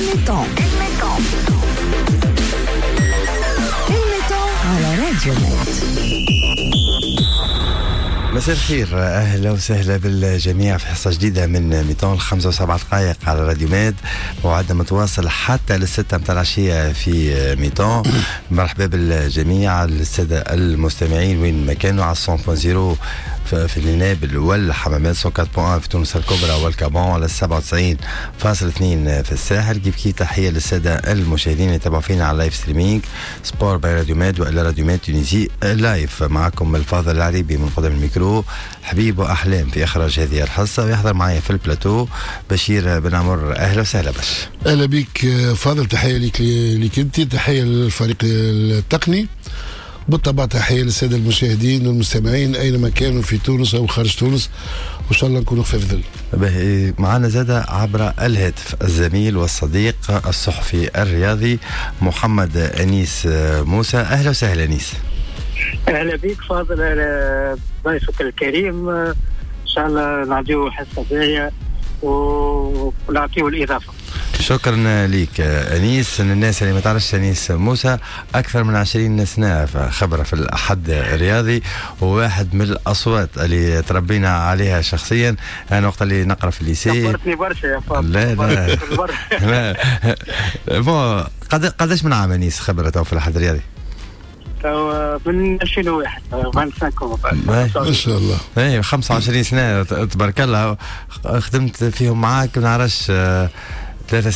ال mi-temps ال mi-temps على راديو ميد. مساء الخير، اهلا وسهلا بالجميع في حصة جديدة من mi-temps، 5:07 على راديو ميد. موعدنا متواصل حتى للستة متاع العشية في mi-temps. مرحبا بالجميع السادة المستمعين وين ما كانوا، على 100.0 في النابل والحمامات، 104.1 في تونس الكبرى والكابون، على 97.2 في الساحل. كيف كيف تحية للسادة المشاهدين اللي تابعوا فينا على live streaming sport by راديو ميد والا راديو ميد Tunisie live. معكم الفاضل العريبي من قدام الميكرو، حبيب واحلام في اخراج هذه الحصه، ويحضر معي في البلاتو بشير بن عمر. اهلا وسهلا بش. اهلا بك فاضل، تحية لك لك انت، تحية للفريق التقني، بالطبع تحية للسادة المشاهدين والمستمعين اينما كانوا في تونس او خارج تونس، وان شاء الله نكونوا خفاف ظل. معنا زاد عبر الهاتف الزميل والصديق الصحفي الرياضي محمد انيس موسى. اهلا وسهلا انيس. اهلا بك فاضل، اهلا ضيفك الكريم، ان شاء الله نعطيو حصة باهيه ونعطيو الاضافة. شكرا لك انيس. الناس اللي ما تعرفش انيس موسى اكثر من 20 سنة خبره في الاحد الرياضي، وواحد من الاصوات اللي تربينا عليها شخصيا. انا وقت اللي نقرا في ال lycée كبرتني برشا يا فاضل. لا لا لا bon، قداش من عام انيس خبره في الاحد الرياضي؟ من 2001، 25. ما شاء الله. اي 25 سنة تبارك الله، خدمت فيهم معاك ما نعرفش 3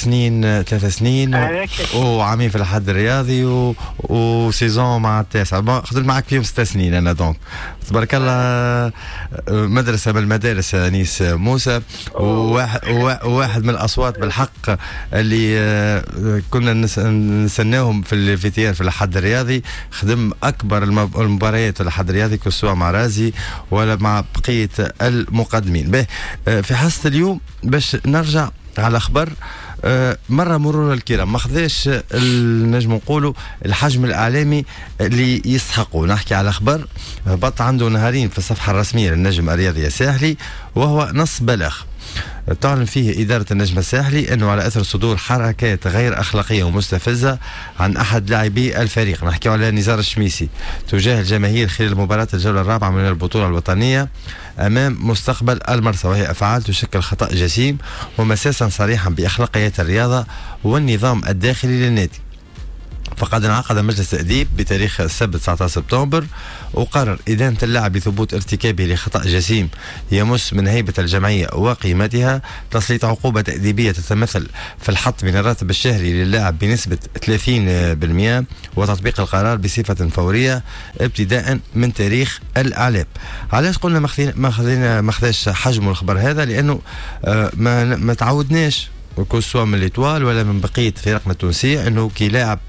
سنين وعامين في الحد الرياضي و saison مع التاسع، خدمت معك فيهم 6 سنين انا. donc تبارك الله مدرسه من المدارس انيس موسى، وواحد من الاصوات بالحق اللي كنا نستناهم في ال vestiaire في الحد الرياضي. خدم اكبر المباريات في الحد الرياضي، سواء مع رازي ولا مع بقية المقدمين. به في حصة اليوم باش نرجع على خبر مرة مرور الكرام، ما خذاش نجم نقولوا الحجم الاعلامي اللي يستحقوا. نحكي على خبر هبط عنده نهارين في الصفحة الرسمية للنجم الرياضي الساحلي، وهو نص بلاغ تعلن فيه إدارة النجم الساحلي أنه على أثر صدور حركات غير أخلاقية ومستفزة عن أحد لاعبي الفريق، نحكي على نزار الشميسي، تجاه الجماهير خلال مباراة الجولة الرابعة من البطولة الوطنية أمام مستقبل المرسى، وهي أفعال تشكل خطأ جسيم ومساسا صريحا بأخلاقيات الرياضة والنظام الداخلي للنادي، فقد انعقد مجلس تأديب بتاريخ السبت 19 سبتمبر وقرر إدانة اللاعب لثبوت ارتكابه لخطأ جسيم يمس من هيبة الجمعية وقيمتها، تسليط عقوبة تأديبية تتمثل في الحط من الراتب الشهري للاعب بنسبة 30% وتطبيق القرار بصفة فورية ابتداء من تاريخ الإعلام. علاش قلنا ما خذاش حجم الخبر هذا؟ لأنه ما تعودناش que ce soit من l'Étoile ولا من بقية فرقنا التونسية انه كي لاعب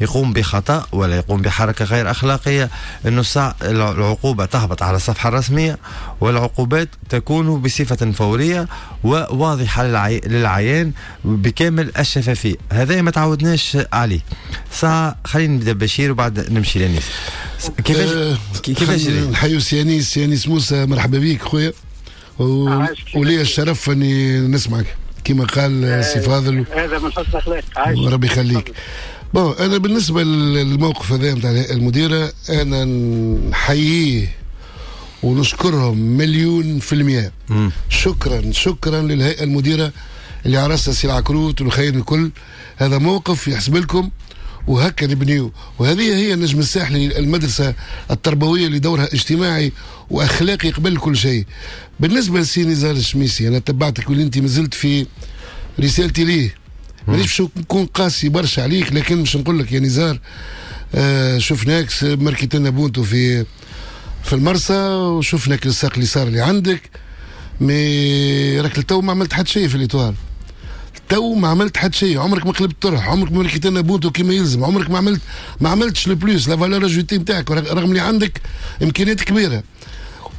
يقوم بخطأ ولا يقوم بحركة غير أخلاقية أنه العقوبة تهبط على الصفحة الرسمية، والعقوبات تكون بصفة فورية وواضحة للعيان بكامل الشفافية. هذا ما تعودناش عليه. ساعة خلينا نبدا بشير وبعد نمشي لأنيس. كيفاش نحيو سي انيس، سي انيس موسى، مرحبا بك خويا، ولي الشرف اني نسمعك كما قال سي فاضل. هذا من حسن اخلاقك. وربي يخليك. bon، انا بالنسبة للموقف هذا نتاع الهيئة المديره، انا نحييه ونشكرهم 1,000,000%. شكرا شكرا للهيئة المديرة اللي على راسها سي العكروت والخير الكل. هذا موقف يحسب لكم، وهكا نبنيو، وهذه هي النجم الساحلي، المدرسة التربوية اللي دورها اجتماعي واخلاقي قبل كل شيء. بالنسبة لسي نزار الشميسي، انا تبعتك واللي انت مازلت في رسالتي ليه، مانيش باش نكون قاسي برشا عليك، لكن باش نقول لك يا نزار، شفناك ماركيت لنا بونتو في المرسى، وشفناك الساق اليسار اللي عندك، mais راك تو ما عملت حتى شيء في l'Étoile. تو ما عملت حتى شيء، عمرك ما قلبت طرح، عمرك ما ماركيت لنا بونتو كيما يلزم، عمرك ما عملتش le plus la valeur ajoutée نتاعك، رغم اللي عندك امكانيات كبيره.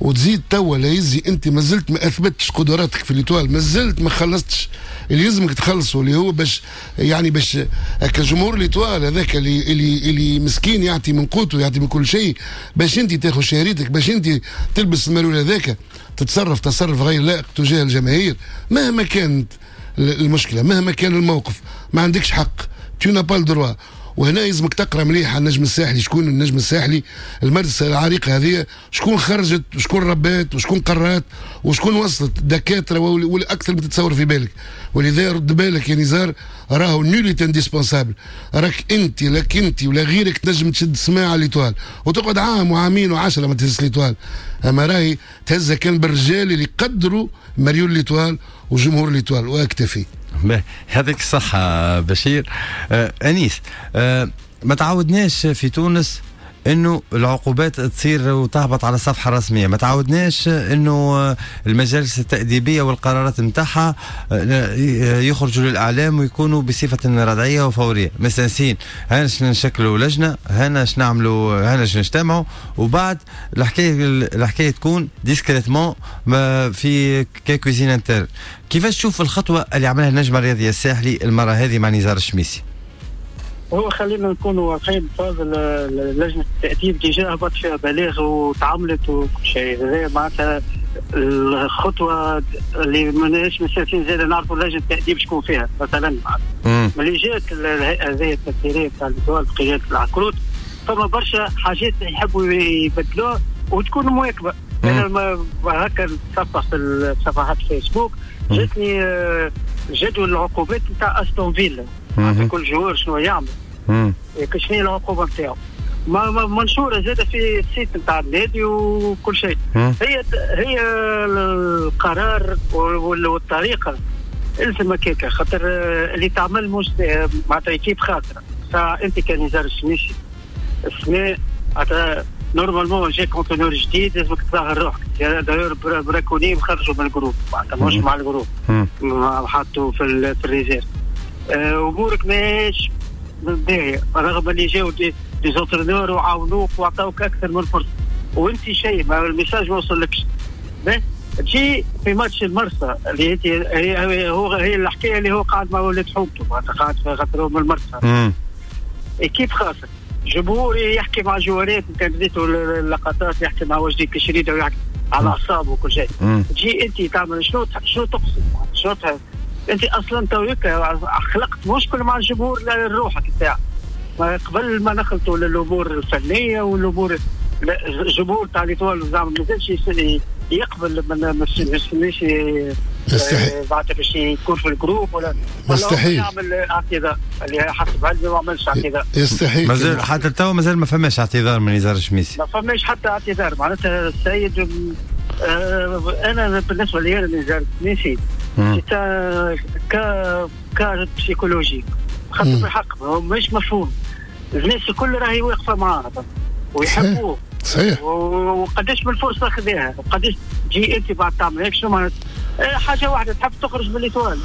وتزيد توا لا يزي، انت ما زلت ما اثبتش قدراتك في l'Étoile، ما زلت ما خلصتش اللي يلزمك تخلصه، اللي هو باش يعني باش كجمهور l'Étoile هذاك اللي مسكين يعطي من قوته، يعطي من كل شيء باش انت تاخذ شهريتك، باش انت تلبس المريول هذاك، تتصرف تصرف غير لائق تجاه الجماهير مهما كانت. المشكلة مهما كان الموقف، ما عندكش حق، tu n'as pas le droit. وهنا يلزمك تقرا مليح على النجم الساحلي، شكون النجم الساحلي، المدرسة العريقه هذه شكون خرجت وشكون ربات وشكون قرات وشكون وصلت دكاترة والاكثر ما تتصور في بالك. ولذا رد بالك يا نزار، راهو nul n'est indispensable، راك انت لك انت ولا غيرك تنجم تشد سماعه l'Étoile وتقعد عام وعامين وعشرة ما تهز l'Étoile، اما راهي تهزها كان بالرجال اللي قدروا مريول l'Étoile وجمهور l'Étoile. واكتفي. هذيك الصحة بشير. أنيس، ما تعودناش في تونس انه العقوبات تصير وتهبط على الصفحة الرسمية، ما تعودناش انه المجالس التاديبيه والقرارات نتاعها يخرجوا للاعلام ويكونوا بصفة ردعيه وفوريه. مستانسين هانا نشكلوا لجنة، هانا نعملوا، هانا نجتمعوا، وبعد الحكاية تكون discrètement في cuisine interne. كيفاش تشوف الخطوة اللي عملها النجم الرياضي الساحلي المرة هذه مع نزار الشميسي؟ هو خلينا نكونوا واضحين فاضل، لجنة التاديب déjà هبط فيها بلاغ وتعاملت وكل شيء، هذا معناتها الخطوة اللي ماناش مستانسين زاد نعرفوا لجنة التاديب شكون فيها مثلا. ملي جات الهيئة هذه التسييريه تاع l'Étoile بقيادة العكروت، فما برشا حاجات يحبوا يبدلوها وتكون مواكبة. انا هكا نتصفح في صفحات فيسبوك جاتني جدول العقوبات نتاع استون فيلا، كل joueur شنو يعمل، شنو هي العقوبة نتاعو، منشورة زاده في ال site نتاع النادي وكل شيء. هي القرار والطريقة الزم هكاكا، خاطر اللي تعمل مش معناتها équipe خاطره. فانت كان نزار الشميشي السنة معناتها normalement جاك entraîneur جديد لازمك تظهر روحك. d'ailleurs براكوني خرجوا من ال groupe، معناتها مش مع ال groupe، حطوا في ال réserve. امورك ماهيش باهيه رغم اللي جاو des entraîneurs وعاونوك وعطاوك اكثر من فرصة، وانت شيء ما ال message ما وصلكش. تجي في ماتش المرسى اللي هي هو هي الحكاية اللي هو قاعد مع ولاد حومته، معناتها قاعد خاطر من المرسى، équipe خاصة جمهور يحكي مع جوارات، كان بديتوا اللقطات يحكي مع وجدي كشريده ويحكي على اعصابه وكل شيء. تجي انت تعمل شنو تقصد، شنو انت اصلا تويك خلقت مشكل مع الجمهور لروحك نتاع قبل ما نخلطوا للامور الفنية والامور. الجمهور تاع l'Étoile زعما مازالش يقبل ما يستناش بعد باش يكون في ال groupe ولا مستحيل يعمل اعتذار، اللي حسب علمي ما عملش اعتذار. يستحيل، مازال حتى تو مازال ما فماش اعتذار من نزار الشميسي، ما فماش حتى اعتذار. معناتها السيد انا بالنسبة لي انا نزار الشميسي cas psychologique، خاطر بالحق هو مش مفهوم، الناس الكل راهي واقفة معاه ويحبوه. صحيح. وقداش من فرصة خذاها، وقداش تجي انت بعد تعمل هيك شنو معناتها؟ حاجة واحدة تحب تخرج من l'Étoile،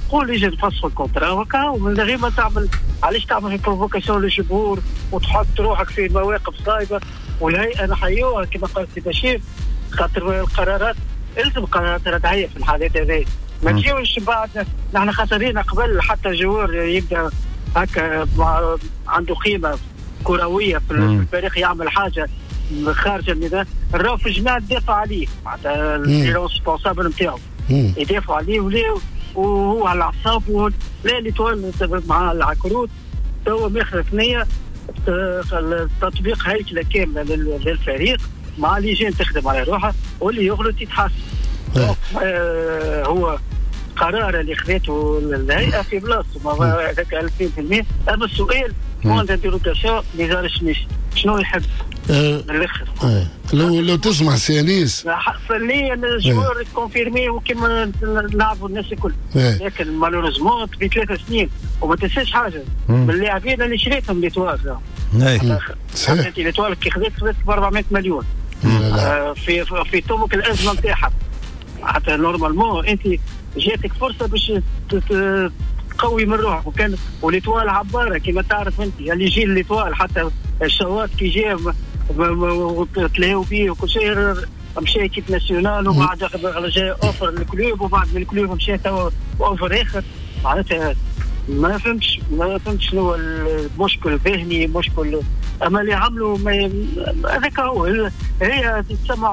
قول يجي تفسخ ال contrat وكا، ومن غير ما تعمل علاش تعمل provocation للجمهور وتحط روحك في مواقف صايبه. والهيئة نحيوها كما قال سي بشير، خاطر القرارات الزم قرارات ردعيه في الحالات هذه، ما تجيوش بعد نحن خسرين قبل حتى joueur يبدا هكا عنده قيمة كروية في الفريق يعمل حاجة خارج النظام، الراو في الجماعة تدافع عليه، معناتها ال responsable نتاعو يدافعوا عليه ولا وهو على الاعصاب. لا l'Étoile مع العكروت توا ماخذ ثنيه تطبيق هيكله كاملة للفريق مع لجان تخدم على روحها، واللي يغلط يتحاسب. هو قرار اللي خذته الهيئة في بلاصته هذاك 2000%. اما السؤال point d'interrogation نزار الشميسي شنو يحب من الاخر؟ لو تسمع سي انيس فنيا ال joueur confirmé وكما نلعبوا الناس الكل، لكن malheureusement في 3 سنين وما تنساش حاجة من اللاعبين اللي شريتهم l'Étoile. صحيح، l'Étoile كي خذت ب 400 مليون في طبق الازمة نتاعها، حتى normalement انت جاتك فرصة باش تقوي من روحك، وكان و l'Étoile عبارة كما تعرف انت اللي يجي l'Étoile حتى الشواط كي جا وتلاهوا بيه وكل شيء، مشى équipe nationale وبعد جا offre ال club، وبعد من ال club مشى توا offre اخر. معناتها ما فهمتش شنو المشكل الذهني، مشكل اما اللي عملوا هذاك هو، هي تسمى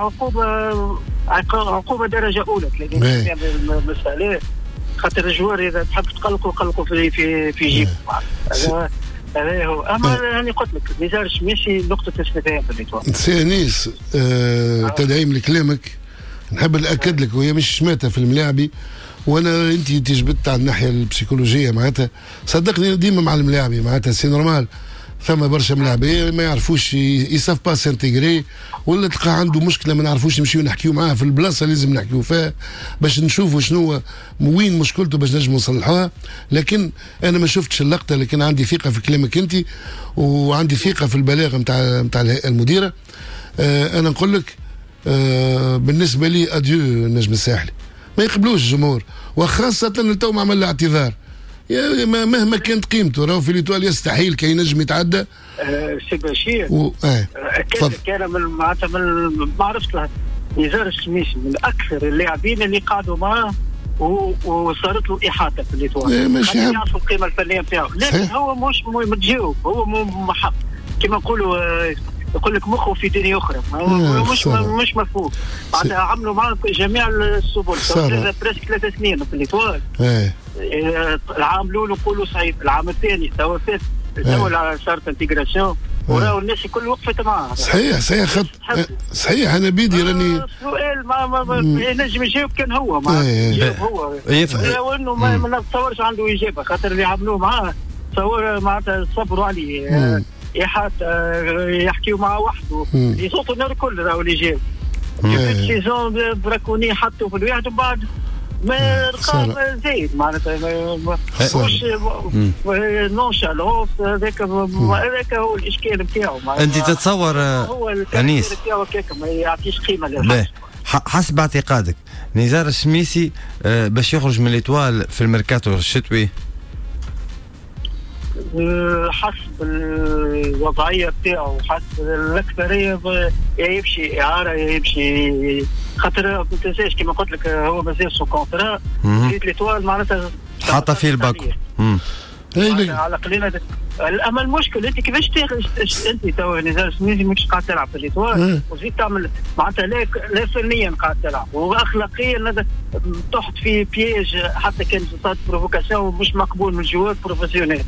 عقوبه درجه اولى 30 مسالة. خاطر ال joueur اذا تحب تقلقوا قلقوا في في في جيبه. هذا هو. اما يعني قلت لك نزار الشميسي نقطة استفهام في l'Étoile. سي انيس، تدعيم لكلامك نحب ناكد لك، وهي مش شماته في الملاعبي، وانا انت جبت على الناحية البسيكولوجيه معناتها، صدقني ديما مع الملاعبي معناتها c'est normal، ثم برشا ملاعبيه ما يعرفوش ils savent pas s'intégrer، ولا تلقى عنده مشكلة ما نعرفوش نمشيو نحكيو معاه في البلاصة اللي لازم نحكيو فيها باش نشوفوا شنو وين مشكلته باش نجموا نصلحوها. لكن انا ما شفتش اللقطة، لكن عندي ثقة في كلامك انت، وعندي ثقة في البلاغ نتاع الهيئة المديرة. انا نقول لك بالنسبة لي adieu النجم الساحلي، ما يقبلوش الجمهور، وخاصة تو ما عمل اعتذار مهما كانت قيمته، راهو في l'Étoile يستحيل كي ينجم يتعدى. سي بشير كان من معناتها من ما عرفت نزار الشميسي من اكثر اللاعبين اللي قعدوا معاه وصارت له احاطة في l'Étoile، يعرفوا القيمة الفنية نتاعو، لكن هو مش متجاوب، هو محب كما نقولوا، يقول لك مخه في دنيا اخرى، مش مفهوم. معناتها عملوا معاه جميع السبل، presque 3 سنين في l'Étoile. العام الاول نقولوا صعيب، العام الثاني توا فات، توا صارت intégration وراو الناس الكل وقفت معاه. صحيح صحيح صحيح. انا بيدي راني سؤال ما ينجم يجاوب كان هو، ما يجاوب هو لو انه ما نتصورش عنده اجابه، خاطر اللي عملوه معاه تصور معناتها صبروا عليه، يحكيو معاه وحده، يصوتوا النار الكل راهو اللي جاو كيف saison براكوني حطوا في الواحد ومن بعد ما لقى زايد معناتها مش nonchalance. هذاك هو الاشكال نتاعو. انت تتصور هو انيس نتاعو هكاك ما يعطيش قيمة للحاجة. حسب اعتقادك نزار الشميسي باش يخرج من l'Étoile في الميركاتو الشتوي؟ حسب الوضعية بتاعه، حسب الاكثرية يا يمشي اعاره يا يمشي، خاطر ما تنساش كما قلت لك هو مازال sous contrat في l'Étoile معناتها حاطه فيه الباكو على قليله. اما المشكل انت كيفاش تاخذ انت تو نزار الشميسي مش قاعد تلعب في l'Étoile وزيد تعمل معناتها لا فنيا قاعد تلعب واخلاقيا تحط في piège، حتى كان صارت provocation مش مقبول من joueur professionnel.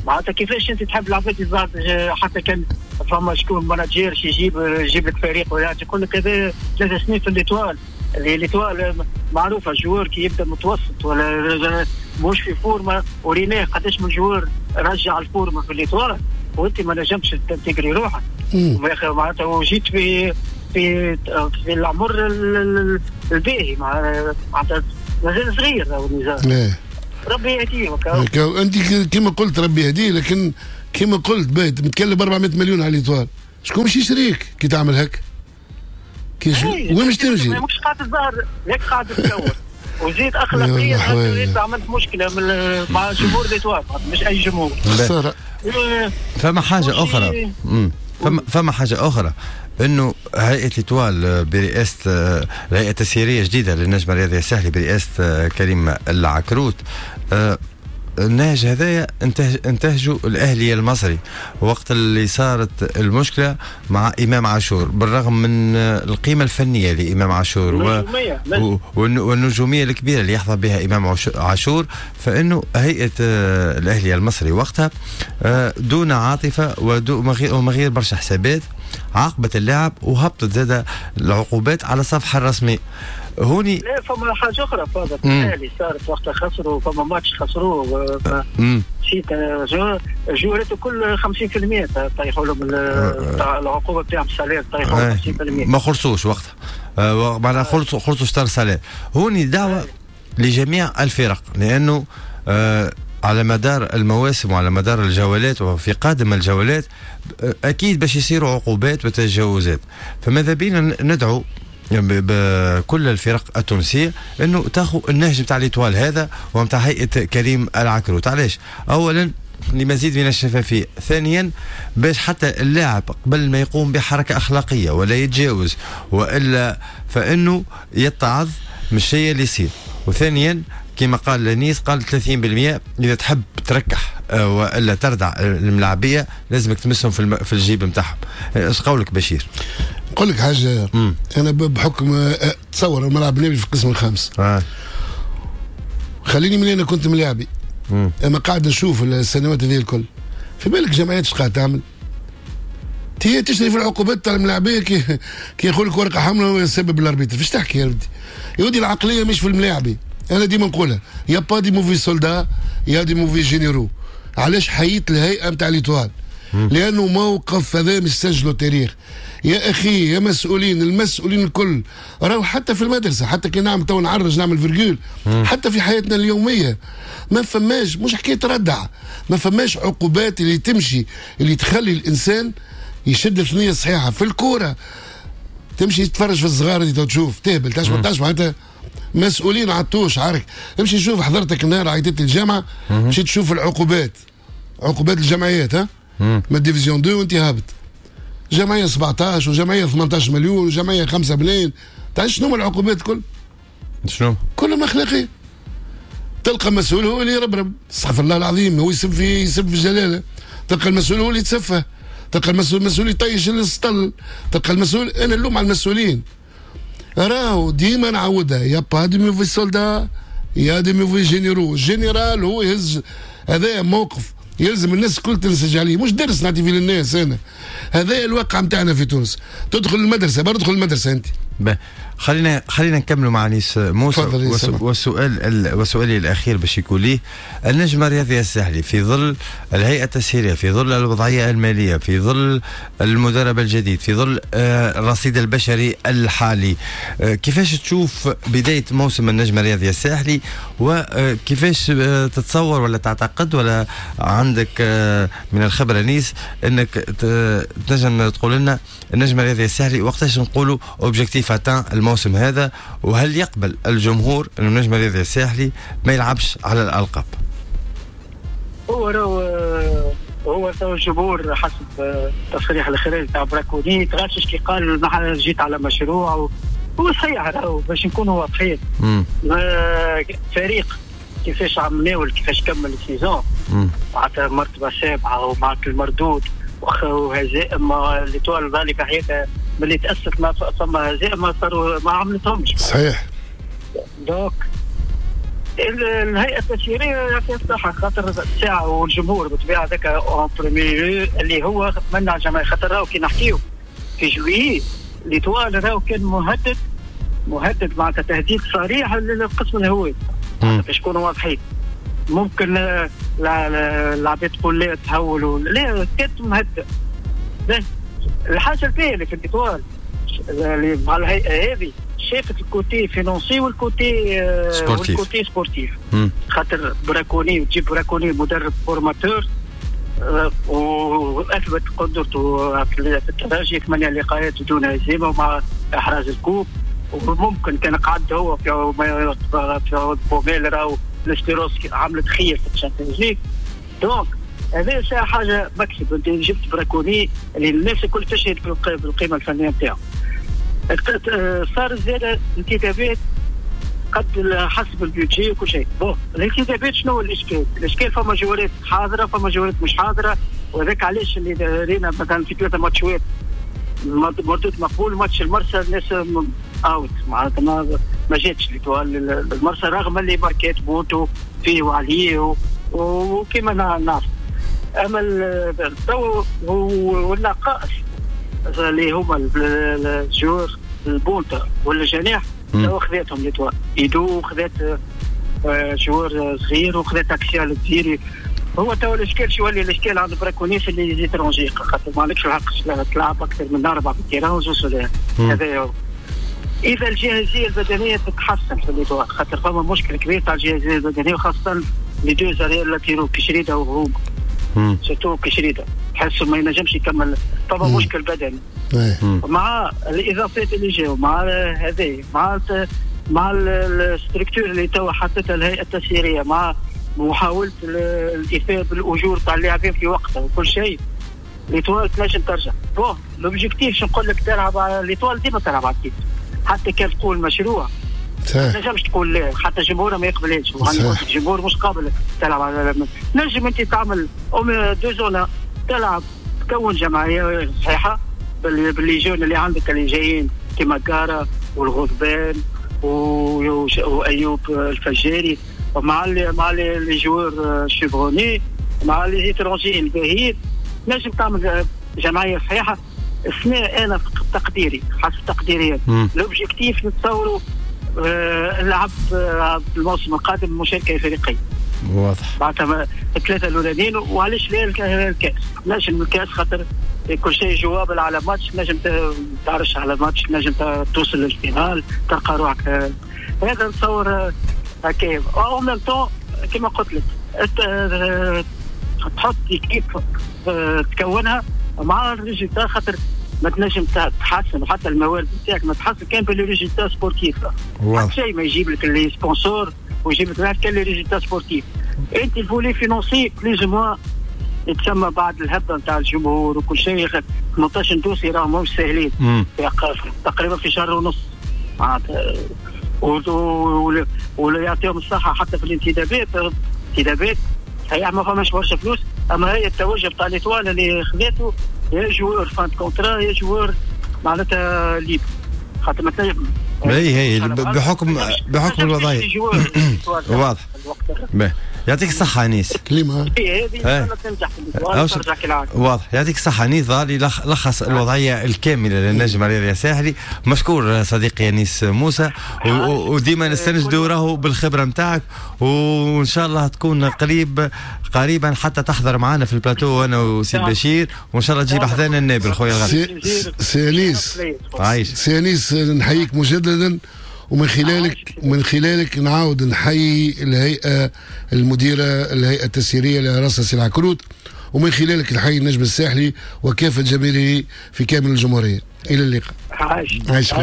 معناتها كيفاش انت تحب العباد حتى كان فما شكون manager يجيب لك فريق ولا يقول لك هذا 3 سنين في l'Étoile، اللي l'Étoile معروفة joueur كي يبدا متوسط ولا مش في forme، وريناه قداش من joueur رجع ال forme في l'Étoile وانت ما نجمتش تنتجري روحك معناتها، وجيت في في في العمر الباهي معناتها مازال صغير النزار. ربي يهديه. انت كما قلت ربي يهديه، لكن كما قلت باهي متكلم 400 مليون على l'Étoile، شكون باش يشريك كي تعمل هكا؟ وين باش تمشي؟ مش قاعد تظهر لك قاعد تتصور، وزيد اخلاقيا انت عملت مشكلة مع جمهور l'Étoile، مش اي جمهور. فما حاجة اخرى، فما حاجة اخرى انه هيئة l'Étoile برئاسة الهيئة التسييريه الجديدة للنجم الرياضي الساحلي برئاسة كريم العكروت، النهج هذايا انتهجوا الاهلي المصري وقت اللي صارت المشكلة مع امام عاشور، بالرغم من القيمة الفنية لامام عاشور والنجوميه الكبيرة اللي يحظى بها امام عاشور، فانه هيئة الاهلي المصري وقتها دون عاطفة وما غير برشا حسابات عاقبت اللاعب وهبطت زاد العقوبات على الصفحة الرسمية. هوني لا فما حاجة اخرى فاضل الاهلي صارت وقتها خسروا، فما ماتش خسروه نسيت جوارته كل 50% طيحوا لهم العقوبة بتاعهم ال salaire طيحوا 50%، ما خلصوش وقتها، معناها خلصوا شطر salaire. هوني دعوه لجميع الفرق، لانه على مدار المواسم وعلى مدار الجولات وفي قادم الجولات اكيد باش يصيروا عقوبات وتجاوزات، فماذا بينا ندعو بكل الفرق التونسية انه تاخذ النهج نتاع l'Étoile هذا ونتاع هيئة كريم العكروت. علاش؟ اولا لمزيد من الشفافية، ثانيا باش حتى اللاعب قبل ما يقوم بحركة اخلاقية ولا يتجاوز والا فانه يتعظ من الشيء اللي يصير، وثانيا كما قال لنيس قال 30% اذا تحب تركح والا تردع الملاعبيه لازمك تمسهم في الجيب نتاعهم. ايش قولك بشير؟ نقول لك حاجة، انا بحكم تصور الملعب النبي في القسم الخامس خليني من انا كنت ملاعبي اما قاعد نشوف السنوات هذه الكل، في بالك جمعيات اش قاعد تعمل؟ هي تشري في العقوبات تاع الملاعبيه، كي يقول لك ورقة حمراء يسبب ال arbitre. فاش تحكي يا ودي؟ يا ودي العقلية مش في الملاعبي، انا ديما نقولها y a pas de mauvais soldats y a des mauvais généraux. علاش حييت الهيئة نتاع l'Étoile؟ لانه موقف هذا مش سجلوا التاريخ يا اخي. يا مسؤولين، المسؤولين الكل راهو حتى في المدرسة، حتى كي نعمل تو نعرج نعمل virgule، حتى في حياتنا اليومية ما فماش، مش حكاية ردع، ما فماش عقوبات اللي تمشي اللي تخلي الانسان يشد الثنية الصحيحة. في الكورة تمشي تتفرج في الصغار اللي تشوف تهبل تشبع معناتها مسؤولين عطوش عارك. امشي شوف حضرتك النهار عيطت الجامعة، مشيت تشوف العقوبات، عقوبات الجمعيات ها من division 2 وانت هابط، جمعية 17 وجمعية 18 مليون وجمعية 5 ملايين. تعرف شنو هما العقوبات كل؟ شنو؟ كلهم اخلاقية. تلقى مسؤول هو اللي يربرب، استغفر الله العظيم، هو يسب في الجلاله. تلقى المسؤول هو اللي يتسفه، تلقى المسؤول يطيش السطل، تلقى المسؤول. انا نلوم على المسؤولين، راهو ديما نعاودها، y a pas de mauvais soldats y a des mauvais généraux. général هو يهز، هذا موقف يلزم الناس الكل تنسج عليه، مش درس نعطي فيه للناس انا. هذا الواقع نتاعنا في تونس. تدخل المدرسة، برا تدخل المدرسة انت. خلينا نكملوا مع انيس موسى. وسؤالي الاخير باش يكون ليه، النجم الرياضي الساحلي في ظل الهيئة التسييريه، في ظل الوضعية المالية، في ظل المدرب الجديد، في ظل الرصيد البشري الحالي، كيفاش تشوف بداية موسم النجم الرياضي الساحلي؟ وكيفاش تتصور ولا تعتقد ولا عندك من الخبرة انيس انك تنجم تقول لنا النجم الرياضي الساحلي وقتاش نقولوا objectif atteint الموسم هذا؟ وهل يقبل الجمهور انه النجم الرياضي الساحلي ما يلعبش على الالقاب؟ هو تو الجمهور حسب تصريح الخارج تاع براكوني تغشش كي قال نحن جيت على مشروع، هو صحيح راهو باش نكونوا واضحين. فريق كيفاش عملناه كيفاش كمل ال saison معناتها مرتبه سابعه ومع المردود وهزائم اللي طول ذلك حياتها ملي تأسست ما ثم هزائم ما صاروا ما عملتهمش. صحيح. donc الهيئة التسييريه يعطيها الصحة خاطر الساعة والجمهور بالطبيعة هذاك en premier اللي هو منع الجماهير، خاطر راهو كي نحكيو في juillet l'Étoile راهو كان مهدد معناتها تهديد صريح للقسم الهوي باش نكونوا واضحين. ممكن العباد تقول لا تهولوا، لا كانت مهدد. الحاجة الباهيه اللي في l'Étoile اللي مع الهيئة هذه شافت ال côté financier وال côté وال côté sportif. خاطر براكوني وتجيب براكوني مدرب formateur واثبت قدرته في الترجي 8 لقاءات دون هزيمة ومع احراز ال coupe، وممكن كان قعد هو في بوميل راهو l'Espérance عملت خير في ال Champions League. donc هذا حاجة مكسب، انت جبت براكوني اللي الناس الكل تشهد بالقيمة الفنية نتاعو. صار زاد انتدابات قد حسب ال budget وكل شيء. bon الانتدابات شنو الاشكال؟ الاشكال فما جوارات حاضره فما جوارات مش حاضره، وهذاك علاش اللي رينا مثلا في 3 ماتشات مردود مقبول. ماتش المرسى الناس out معناتها ما جاتش المرسى رغم اللي ماركات بوتو فيه وعليه وكما نعرف. اما التو والنقائص اللي هما ال joueurs البونتا والجناح تو خذاتهم l'Étoile ايدو خذات joueur صغير وخذات axial الديري. هو تو الاشكال شو يولي الاشكال عند براكونيس اللي les étrangers خاطر ما عندكش الحق تلعب اكثر من 4 في ال terrain وزوج. هذا اذا الجاهزيه البدنية تتحسن في l'Étoile خاطر فما مشكل كبير تاع الجاهزيه البدنية وخاصة les deux arrières latéraux كشريده وغروب surtout كشريده تحسه ما ينجمش يكمل. طبعا مشكل بدني مع الاضافات اللي جاوا مع هذه مع ال structure اللي توا حطتها الهيئة التسييريه مع محاولة الايفاء بالاجور تاع اللاعبين في وقتها وكل شيء، l'Étoile تنجم ترجع. bon l'objectif شو نقول لك، تلعب على l'Étoile ديما تلعب على ال titre حتى كان تقول مشروع ما تنجمش تقول لا، حتى جمهورها ما يقبلهاش. الجمهور مش قابل تلعب على نجم انت تعمل deux zones تلعب تكون جماعية صحيحه ب les jeunes اللي عندك اللي جايين كيما كارا والغضبان وايوب الفجاري. مع les joueurs chevronnés مع les étrangers الباهيين نجم تعمل جمعية صحيحه. السنة انا تقديري حسب تقديري l'objectif نتصوروا نلعب الموسم القادم مشاركة افريقية. واضح. معناتها الثلاثة الاولانيين، وعلاش لا الكاس؟ نجم الكاس خاطر كل شيء jouable على ماتش، نجم تعرش على ماتش، نجم توصل لل finale تلقى روحك. هذا نتصور هكا en même temps كما قلت لك تحط équipe تكونها مع ال résultat، خاطر ما تنجم تحسن وحتى الموارد نتاعك ما تحسن كان بال résultat sportif. حتى شيء ما يجيب لك les sponsors ويجيب لك كان les résultats sportifs. انت ال volet financier plus ou moins يتسمى بعد الهبة نتاع الجمهور وكل شيء. 18 dossier راهم ماهمش ساهلين، تقريبا في شهر ونص معناتها، ولا يعطيهم الصحة حتى في الانتدابات. انتدابات صحيح ما فماش برشا فلوس، اما هي التوجه بتاع l'Étoile اللي خذاته يا joueur fin de contrat يا joueur معناتها libre، خاطر مثلا هي بحكم الوضعية. واضح. يعطيك الصحة أنيس. كلمة هذه تنجح ترجع كالعادة. واضح. يعطيك الصحة أنيس، ظهر لخص الوضعية الكاملة للنجم الرياضي الساحلي. مشكور صديقي أنيس موسى، وديما نستنجدوا راهو بالخبرة نتاعك، وإن شاء الله تكون قريبا حتى تحضر معنا في البلاتو أنا وسي بشير، وإن شاء الله تجيب حذانا النابل خويا الغالي. سي أنيس، عايش سي أنيس، نحييك مجددا، ومن خلالك نعاود نحيي الهيئة المديرة، الهيئة التسييرية لرئاسة سي العكروت، ومن خلالك نحيي النجم الساحلي وكافة جماهيره في كامل الجمهورية. إلى اللقاء. عايش.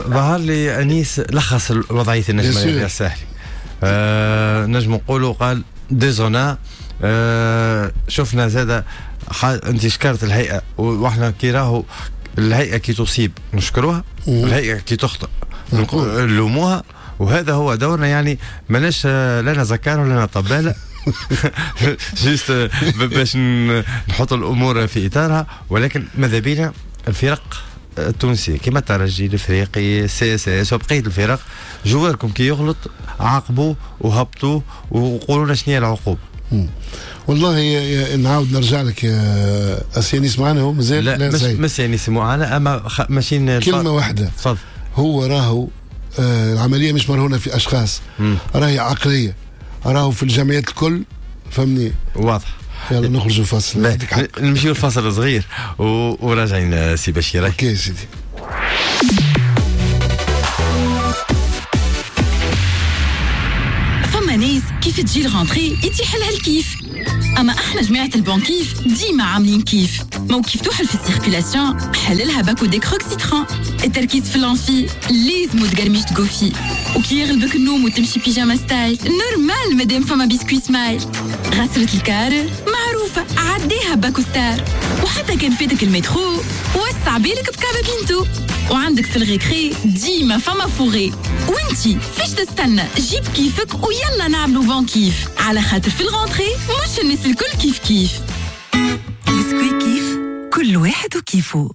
ظهر لي أنيس لخص وضعية النجم الساحلي. نجم نقولوا قال ديزونا. شفنا زادة انت شكرت الهيئة، واحنا كي راهو الهيئة كي تصيب نشكروها، الهيئة كي تخطئ نلوموها، وهذا هو دورنا. يعني ماناش لا زكار ولا طبالة juste باش نحط الامور في اطارها، ولكن ماذا بينا الفرق التونسية كما الترجي الافريقي CSS وبقية الفرق، joueur كم كي يغلط عاقبوه وهبطوه وقولوا لنا شنو هي العقوبة. والله نعاود نرجع لك يا سي أنيس معنا، هو مازال لا مش سي أنيس معنا، اما ماشيين كلمة واحدة. تفضل. هو راهو العملية مش مرهونه في اشخاص، راهي عقلية، راهو في الجمعيات الكل، فهمني؟ واضح. يلا نخرجوا الفاصل، نمشيو الفاصل صغير وراجعين سي بشير. OK سيدي. فما ناس كيف تجي ال rentrée يتيح لها الكيف، اما احنا جماعة البنكيف ديما عاملين كيف. مو كيف توحل في ال circulation حللها باكو Décrox citron، التركيز في l'amphi لازم تقرميش تقوفي، وكي يغلبك النوم وتمشي pyjama style normal مادام فما biscuit Smile. غسلة الكار معروفة عديها باكو Star، وحتى كان فاتك المترو وسع بالك بكابا بينتو، وعندك في ال récré ديما فما fourré. وانتي فاش تستنى؟ جيب كيفك ويلا نعملو bon كيف، على خاطر في ال rentrée مش الناس الكل كيف كيف. بسكوي كيف كل واحد وكيفه.